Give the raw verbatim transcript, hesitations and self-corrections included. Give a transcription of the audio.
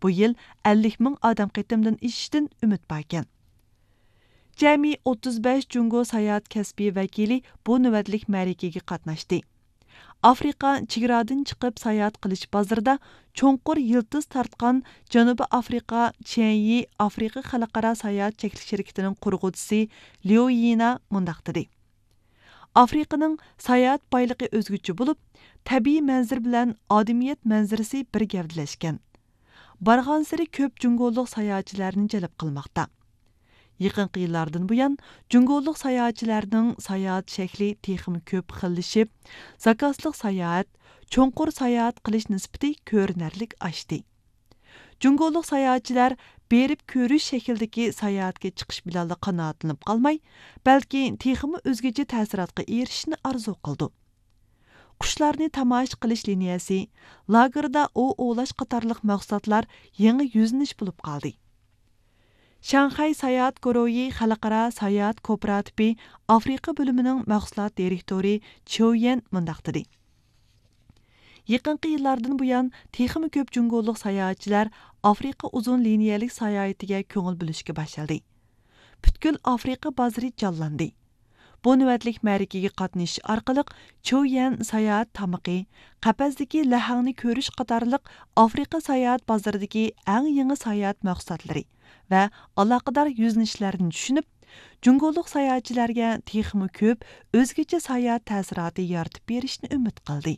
بۇ يىل ئەللىك مىڭ ئادەم قېتىمدىن ئېشىشتىن ئۈمىد باركەن. جەمئىي ئوتتۇز بەش جۇڭگو ساياھەت كەسپىي ۋەكىلى بۇ نۆۋەتلىك مەرىكىگە قاتناشتى. ئافرىقا چېگرادىن چىقىپ ساياھەت قىلىش بازىرىدا چوڭقۇر يىلتىز تارتقان جەنۇبىي ئافرىقا چيەنيى ئافرىقا خەلقئارا ساياھەت چەكلىك شىركىتىنىڭ قۇرغۇچىسى ليۇ يىنا مۇنداق دېدى: ئافرىقىنىڭ ساياھەت بايلىقى ئۆزگىچە بولۇپ، تەبىئىي مەنزىرە بىلەن ئادىمىيەت مەنزىرىسى بىر گەۋدىلەشكەن. بارغانسېرى كۆپ جۇڭگولۇق ساياھەتچىلەرنى جەلپ قىلماقتا. يېقىنقى يىللاردىن بۇيان، جۇڭگولۇق ساياھەتچىلەرنىڭ ساياھەت شەكلى تېخىمۇ كۆپ خىللىشىپ، زاكازلىق ساياھەت، چوڭقۇر ساياھەت قىلىش نىسبىتى كۆرۈنەرلىك ئاشتى. جۇڭگولۇق ساياھەتچىلەر بېرىپ كۆرۈش شەكلىدىكى ساياھەتكە چىقىش بىلەنلا قانائەتلىنىپ قالماي، بەلكى تېخىمۇ ئۆزگىچە تەسىراتقا ئېرىشىشنى ئارزۇ قىلىدۇ. قۇشلارنى تاماشا قىلىش لىنىيەسى، لاگېردا ئوۋ ئوۋلاش قاتارلىق مەھسۇلاتلار يېڭى يۈزلىنىش بولۇپ قالدى. شاڭخەي ساياھەت گۇرۇھى خەلقئارا ساياھەت كوپىراتىپى ئافرىقا بۆلۈمىنىڭ مەھسۇلات دىرېكتورى چيۇ يەن مۇنداق دېدى: يېقىنقى يىللاردىن بۇيان، تېخىمۇ كۆپ جۇڭگولۇق ساياھەتچىلەر ئافرىقا ئۇزۇن لىنىيەلىك ساياھىتىگە كۆڭۈل بۆلۈشكە باشلىدى. پۈتكۈل ئافرىقا بازىرى جانلاندى. بۇ نۆۋەتلىك مەرىكىگە قاتنىشىش ئارقىلىق، چيۇ يەن ساياھەت تامىقى، قەپەستىكى لەھەڭنى كۆرۈش قاتارلىق ئافرىقا ساياھەت بازىرىدىكى ئەڭ يېڭى ساياھەت مەھسۇلاتلىرى ۋە ئالاقىدار يۈزلىنىشلەرنى چۈشىنىپ، جۇڭگولۇق ساياھەتچىلەرگە تېخىمۇ كۆپ ئۆزگىچە ساياھەت تەسىراتى يارىتىپ بېرىشنى ئۈمىد قىلدى.